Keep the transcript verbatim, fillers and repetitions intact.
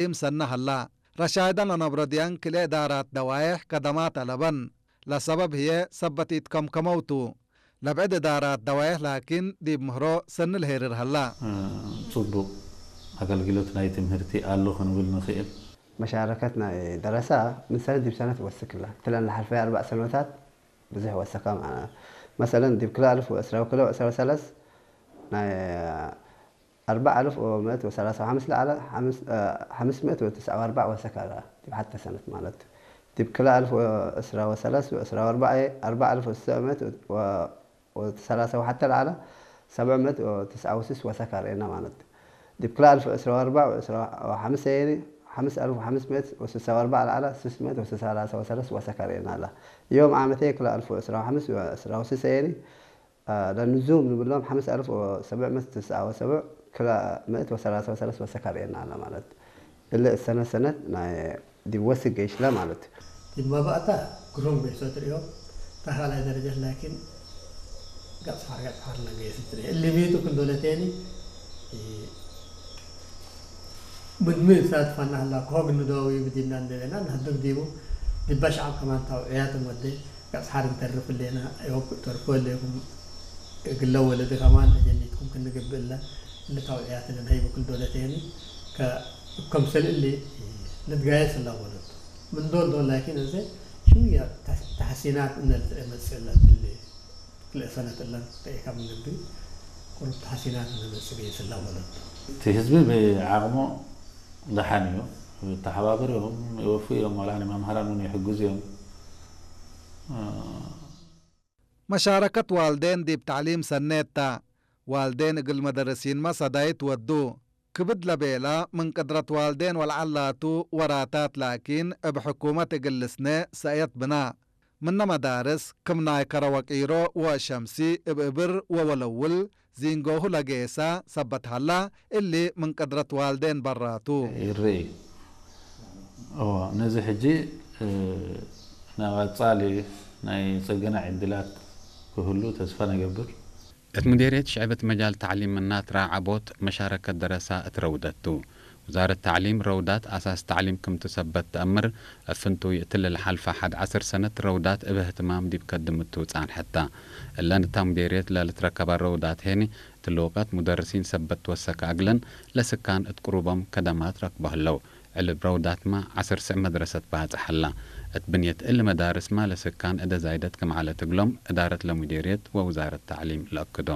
ተዕሊም ሰነ ሀላ። ረሻይደን ለነብሮ ዲያን ክልኤ እዳራት ደዋይሕ ከደማት አለበን። ለሰበብ ህዬ ሰበት ኢትከምከመው ቱ። ለብዕድ እዳራት ደዋይሕ ላኪን ዲብ ምህሮ ሰኒ ለሄርር ሀላ። ጽቡቅ አገልግሎት ናይ ትምህርቲ አሉ ክንብል ንክእል። መሻረከት ናይ ደረሳ ምን ሰነት ዲብ ሰነት ወስክ እላ። እትለን ለሐልፈየ አርበዕ ሰኖታት ብዙሕ ወሰከ። መሰለን ዲብ ክልኤ አልፍ ወዕስራ ወክልኤ ወዕስራ ወሰለስ ናይ አርበዕ አልፍ ወምእት ወሰላሳ ወሐምስ ለዐለ ሐምስ፣ እ፣ ሐምስ ምእት ወትስዐ ወአርበዕ ወሰከ ዲብ ሐተ ሰነት ማለት። ዲብ ክልኤ አልፍ ወዕስራ ወሰለስ ወዕስራ ወአርበዕ አርበዕ አልፍ ወትስዕ ምእት ወ-፣ ወሰላሳ ወሐተ ለዐለ ሰብዕ ምእት ወትስዐ ወስስ ወሰከ ርኤና ማለት። ዲብ ክልኤ አልፍ ወዕስራ ወአርበዕ ወዕስራ ወሐምስ ሰኒ ሐምስ አልፍ ወሐምስ ምእት ወስሳ ወአርበዕ ለዐለ ስስ ምእት ወሰላሳ ወሰለስ ወሰከ ርኤና አላ። ዮም ዓመቴ ክልኤ አልፍ ወዕስራ ወሐምስ ወዕስራ ወስስ ሰኒ ለንዙም ንብሎም ሐምስ አልፍ ወሰብዕ ምእት ትስዐ ወሰብዕ ክልኤ ምእት ወሰላሳ ወሰለስ ወሰከ ርኤና አለ ማለት። እሊ እሰነ ሰነት ናይ ዲብ ወስክ ገይሽ ለ ማለት። ዲብ መባእታ ግሩም ገይሶ ትርእዮ፣ እታ ካልኣይ ደረጀት ላኪን ገጽ ሐር ገጽ ሐር ለገይስ ትርእዮ። እሊ ቤቱ ክንዶለቴኒ ምን ምን ሳትፋና ህላ ከሆግ ንደዋዊ ብዲብና እንደበና ነህድግ ዲቡ ዲባ ሸዓብ ከማን ታውዕያት እንወዴ። ገጽ ሐር እንተርፍ እሌና፣ ዮብ ተርፎ እሌኩም እግለ ወለደ ከማን አጀኒትኩም ክንገብእ እለ፣ እሊ ታውዕያት እንንሀይቡ ክል ዶለቴኒ፣ ከ-፣ ከምሰል እሊ ንትጋየስ እላ ወለቱ። ምን ዶል ዶል ላኪን፣ እዘ ሽውያ ተሕ-፣ ተሕሲናት እነ ልትመጽእ እለ፣ እሊ ክልኤ ሰነት እለን ተኢካ ምን ልቢ፣ ቁሩብ ተሕሲናት እነ መጽእ ገይስ እላ ወለቱ። እቲ ህዝቢ ብዓቅሙ ደሓን እዩ፣ ተሓባብር እዮም፣ ይወፍዩ እዮም፣ ወላኒ መምህራን እውን ይሕግዙ እዮም። መሻረከት ዋልዴን ዲብ ተዕሊም ሰኔት ተ። ዋልዴን እግል መደርሲንመ ሰዳይት ወዱ። ክብድ ለቤላ ምን ቅድረት ዋልዴን ወለዐል ላቱ ወራታት ላኪን እብ ሕኩመት እግል ልስኔ ሰእየት ብና። ምነ መዳርስ ክም ናይ ከረ ወቂሮ ወሸምሲ እብ እብር ወወለውል ዚንጎሁ ለጌሰ ሰበት ሀላ፣ እሊ ምን ቅድረት ዋልዴን በራቱ። ይርኢ። እወ፣ ነዚ ሕጂ፣ እ፣ ናይ ቀጻሊ ናይ ጽገና ዕድላት ክህሉ ተስፋ ነገብር። እት ሙዴርየት ሽዕብ እት መጃል ተዕሊም ምናት ረአዓቦት መሻረከት ደረሳ እት ረውደት ቱ። ውዛረት ተዕሊም ረውዳት አሳስ ተዕሊም ክምቱ ሰበት ተአምር፣ እብ ፍንቱይ እትሊ ለሐልፈ ሐድ ዐስር ሰነት ረውዳት እብ እህትማም ዲብ ከድምቱ ጻንሐት ተ። እለን እታ ሙዴርየት ለልትረከባ ረውዳት ሄኒ፣ እትሊ ወቀት ሙደርሲን ሰበት ትወሰከ አግለን ለስካን እት ቅሩቦም ከደማት ረክቦ ህለው። ዕልብ ረውዳትመ ዐስር ስዕ መድረሰት ባጽሕ ሀላ። እት ብንየት እሊ መዳርስመ ለስካን እደ ዛይደት ክም ዐለት እግሎም እዳረት ለሙዴርየት ወውዛረት ተዕሊም ለአክዶ።